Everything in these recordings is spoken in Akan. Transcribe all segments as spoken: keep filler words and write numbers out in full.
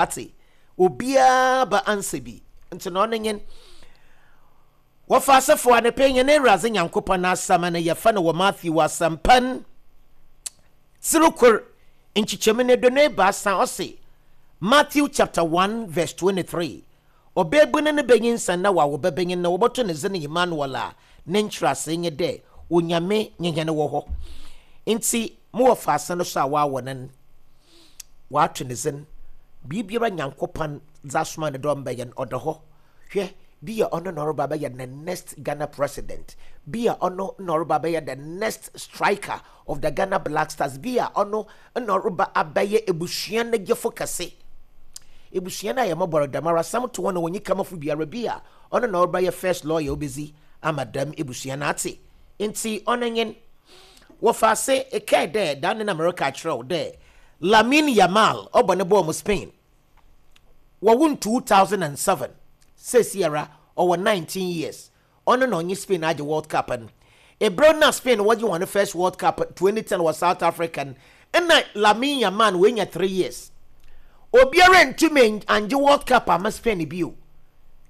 Ate obiara ba ansa bi nti na ɔno nye wɔfa asɛfo a ne pɛ nyɛ ne Awurade Nyankopɔn n'asɛm no. Yɛfa no wɔ Matthew Asɛmpa tsir kor, nkyekyɛmu no aduonu ebaasa. Ɔse, Matthew chapter one verse twenty-three, ɔbɛɛbu no ne bɛnyinsɛn na wawo bɛbɛnyin na wɔbɛto ne dzin Emmanuel, a ne nkyerɛase nye dɛ Onyame nye hɛn wɔ hɔ. Nti mowɔ faase no so a wɔawɔ no no, wɔato ne dzin biribiara Nyankopɔn dze asoma ne dɛ ɔmbɛyɛ no, ɔda hɔ. Hwɛ, bi a ɔno na ɔreba bɛyɛ the next Ghana president, bi a ɔno na ɔreba bɛyɛ the next striker of the Ghana Black Stars, bi a ɔno na ɔreba abɛyɛ ebusua no gyefo kɛse. Ebusua no a yɛmɔbɔrɔ dɛm ara asɛm to wɔn na wɔnyi kamafo biara, bi a ɔno na ɔreba yɛ first lawyer obezi ama dɛm ebusua no ate. Nti ɔno nye wɔfa ase ɛkɛɛ dɛ dan ne na mɛreka akyerɛw dɛ Lamine Yamal ɔbɔ ne bɔɔl mu Spain. Wɔwo n two thousand and seven, sesiara ɔwɔ nineteen years. Ɔno na ɔnye Spain agye World Cup no. Ebere na Spain wɔgye wɔn first World Cup twenty ten wɔ South Africa no, ɛna Lamine Yamal wɔanya three years. Obiara ntumi angye World Cup ama Spain bio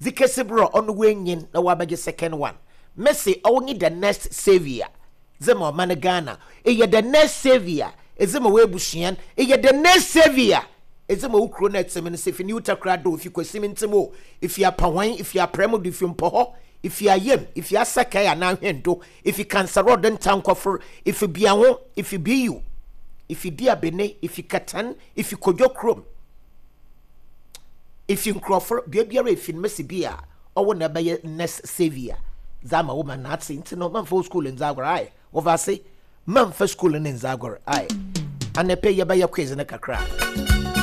dze kesi berɛ a ɔno wɔanyin na wɔabɛgye second one. Messi, ɔwɔ the next saviour dze ma ɔma no Ghana. Ɛyɛ the next saviour ɛdze ma wɔabusua no. Ɛyɛ the next saviour ɛdze ma wo kuro no ɛtɛm no sɛ fi New Takoradi, ofi Kwasim ntɛm o, ifi Apahwan, ifi Aprɛm do, ifi Mpɔhɔ, ifi Ayam, ifi Asakae anaa Hwɛndo, ifi Kansarɔd Ntankɔfor, ifi Biaho, ifi Biyu, ifi Diabene, ifi Katan, ifi Kodwo kurom, ifi nkurɔfo bea biara efi no, mesi bi a ɔwɔ na ɛbɛyɛ next saviour dze ama wo ma n'ate. Nti no, mamfa wo school ndze agorɔ ae. Wɔfa ase, mamfa school ne ndze agorɔ ae. Anɛpɛ yɛbɛyɛ quiz no kakra.